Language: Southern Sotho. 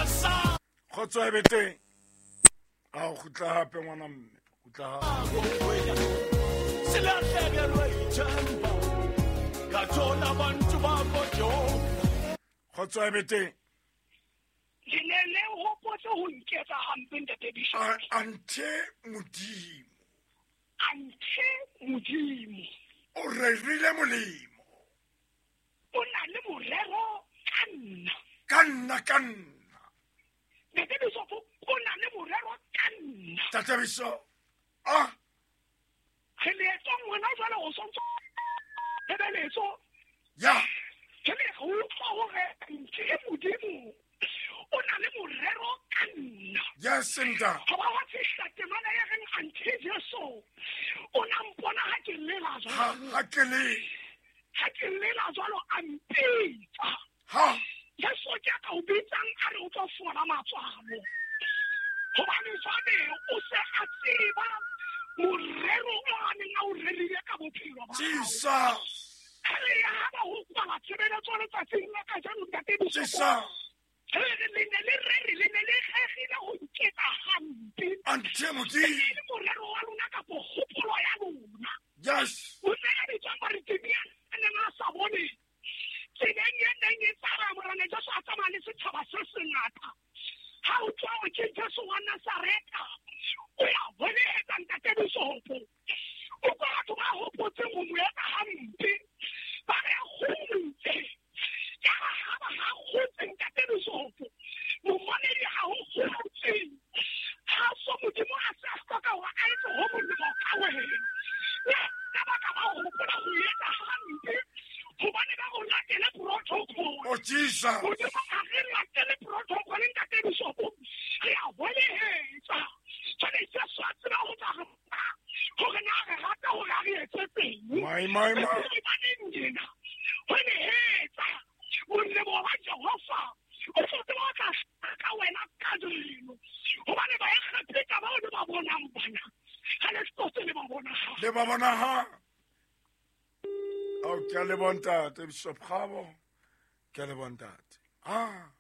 Kgotso e be teng. A o kgutla hape ngwana mme. Kgutla hape. Silahlekelwe ithemba ngathola abantu bakho. Kgotso e be teng. Le ne le hopotse ho nketsa hampe, ntate Bishop. Anthe Modimo. Anthe Modimo. O rerile molemo. O na le morero ka nna. Ka nna, ka nna. Ntate Bishop, o na le morero ka nna. Ntate Bishop. Ah. Re leetong wena jwale o sontso tshebeletso. Ya. Ke le go utlwa hore nthe Modimo o na le morero ka nna. Yes, nta. Ga ba wa fihla temana ya reng anthe Jesu o na mpona ha ke lela jwalo. Ha ke le. Ha ke lela jwalo a mpitsa. Ha. Jesu ke a ka o bitsang a re o tlo fola matswalo. Hobane jwale o se a tseba morero o a neng a o rerile ka bophelo ba hao. Jesus. Ha re ya ha ba ho kwala tshebeletso letsatsing la kajeno, ntate Bishop. Jesus. Re re le ne le rere, le ne le kgegile ho nketsa hampe. Anthe Modimo. E ne e le morero wa lona kapo kgopolo ya lona. Yes. O ne a bitswa Bartimea a neng a sa bone. Tseleng e neng e tsamaya, Morena Jesu a tsamaya le setjhaba se sengata. Ha o tswa o ke Jesu wa Nazaretha, o ya bolehetsa ntate Bishop. O kwa batho ba hopotseng ho mo etsa hampe. Ba re a kgutse. Ka ha ha ba ha kgutse ntate Bishop. Momamedi ha ho kgutse. Ha so Modimo a se a hloka hore a etse ho molemo ka wena. Le ka baka ba hopola ho etsa hampe, hobane ba o latele protocol. Oh, Jesus. Modimo ha re latele protocol ntate Bishop. Re a bolehetsa. Jwale Jesu a tseba ho tla re hore na re rata hore a re etse teng. My, my, my. Re baneng yena. Ho nehetsa. Molemo wa Jehova o tlo tseba ho tla ka wena kajeno. Hobane ba Egepeta bao le ba bonang bana, ha le hlotse le ba bona ha. Le ba bona ha. Ao, ke a leboha ntate, Bishop Kgabo. Ke a leboha ntate. Ah.